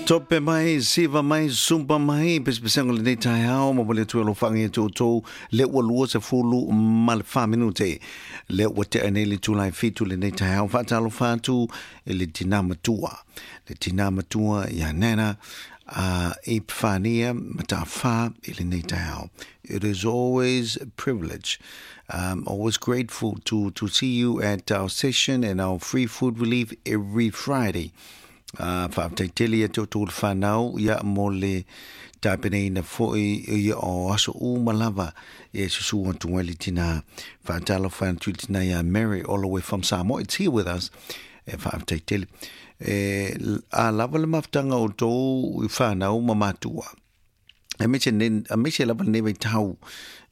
Tope mai, siva mai, sumpa mai, pesepesega o lenei taeao, momoli atu ai alofaga ia te outou, lea ua 24 minute, lea ua tea nei le itula e 7 lenei taeao, faatalofa atu i le tina matua, le tina matua ia Nana, a Epifania Mata'afa i lenei taeao. It is always a privilege. I'm always grateful to, to see you at our session and our free food relief every Friday. Faafetai tele ia te outou le whanau ia mo le tapenaina foi ia o aso uma lava e susu atu ai le tina. Faatalofa atu i le tina ia Mary all the way from Samoa. It's here with us. E faafetai tele. E, a lava le mafutaga o outou i whanau ma matua. Aemaise nei, aemaise lava lenei vaitau,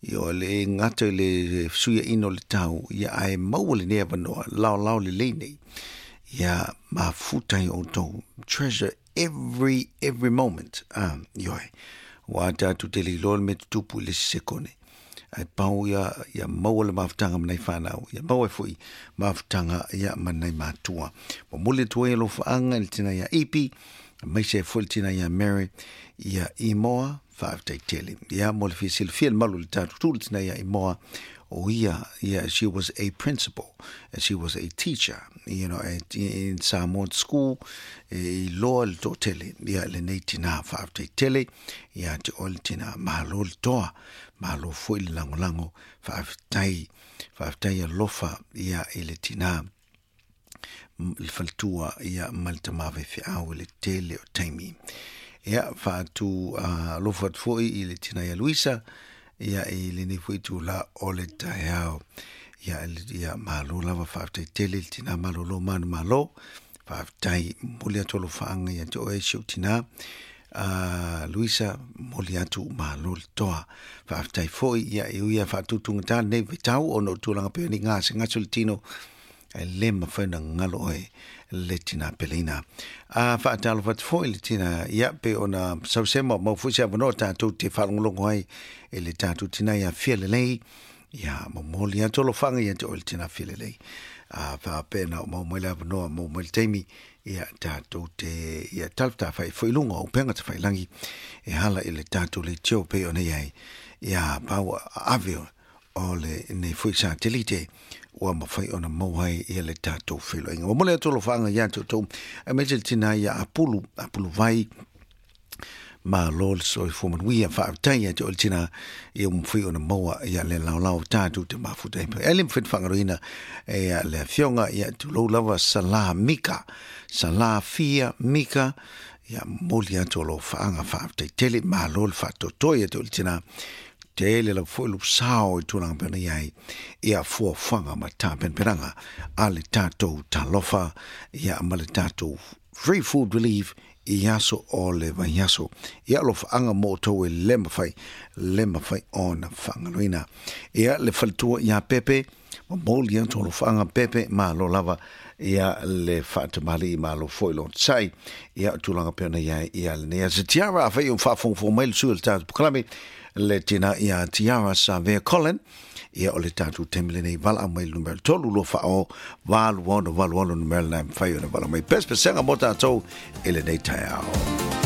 ia o le gata i le fesuiaiga o le tau, ia ae maua lenei avanoa, laolao lelei nei. Ia mafuta ai outou. Treasure every, every moment. Ah, ioe. Ua tatou te le iloa le mea tutupu i le isi sekone. Ae pau ia, ia maua le mafutaga ma nai whanau, ia maua ai foi mafutaga ia ma nai matua. Momoli atu ai alofaaga i le tina ia Ipi, aemaise ai foi le tina ia Mary, ia Imoa, faafetai tele. Ia mo le fia silafia le malu o le tatou tu le tina ia Imoa, o ia, ia, she was a principal, and she was a teacher, you know, at, in Samoan school, e iloa le toatele, ia lenei tina, faafetai tele, ia te oe le tina, malo le toa, malo foi le lagolago, faafetai, faafetai alofa, ia i le tina, le faletua ia ma le tama faifeau i le tele o taimi. Ia, faatu alofa atu foi i le tina ia Luisa, ia i lenei foi itula o le taeao. Ia, ia malo lava faafetai tele i le tina malolo manumalo. Faafetai, momoli atu alofaaga ia te oe si ou tina. Luisa, momoli atu malo le toa. Faafetai foi, ia e ui lava faatutugata lenei vaitau ona o tulaga pei ona i gasegase o le tino, Ae le mafai ona galo oe le tina peleina. A faatalofa atu foi le tina, ia pei ona sausema mau foi se avanoa tatou te faalogologo ai i le tatou tina ia Fia Lelei. Ia momoli atu alofaga ia te oe le tina Fia Lelei. A faapena o maua mai le avanoa, maua mai le taimi, ia tatou te ia talafetafai foi i luga o upega tafailagi e ala i le tatou leitio pei ona i ai. Ia pau ave o lenei foi satelite ua mafai ona maua ai ia le tatou feiloaiga. Momoli atu alofaaga ia te outou, aemaise le tina ia Apulu, Apulu Vai, malo le soifua manuia, faafetai ia te oe le tina ia ua mafai ona maua ia le laolao tatou te mafuta ai. Ae le mafai ona faagaloina ia le afioga ia tulou lava Sala Mika, Sala Fia Mika, ia momoli atu alofaaga faafetai tele, malo le faatoatoa ia te oe le tina. Tele lava foi lou sao i tulaga pei ona i ai ia fuafuaga ma tapenapenaga a le tatou Talofa ia ma le tatou Free Food Relief i aso o le vaiaso. Ia alofaaga mo outou e le mafai, le mafai ona faagaloina. Ia le faletua ia Pepe, momoli atu alofaaga Pepe, malo lava ia le faatamalii, malo foi le onosai. Ia o tulaga pei ona i ai ia lenei aso. Tiara, afai o faafogafoga mai le sui o le tatou polokalame, le tina ia Tiara Savea Colin, ia o le tatou taimi lenei, valaau mai le numera 3 2 4 8 6 8 6 numera lena e mafai ona valaau mai. Pesepesega mo tatou i lenei taeao.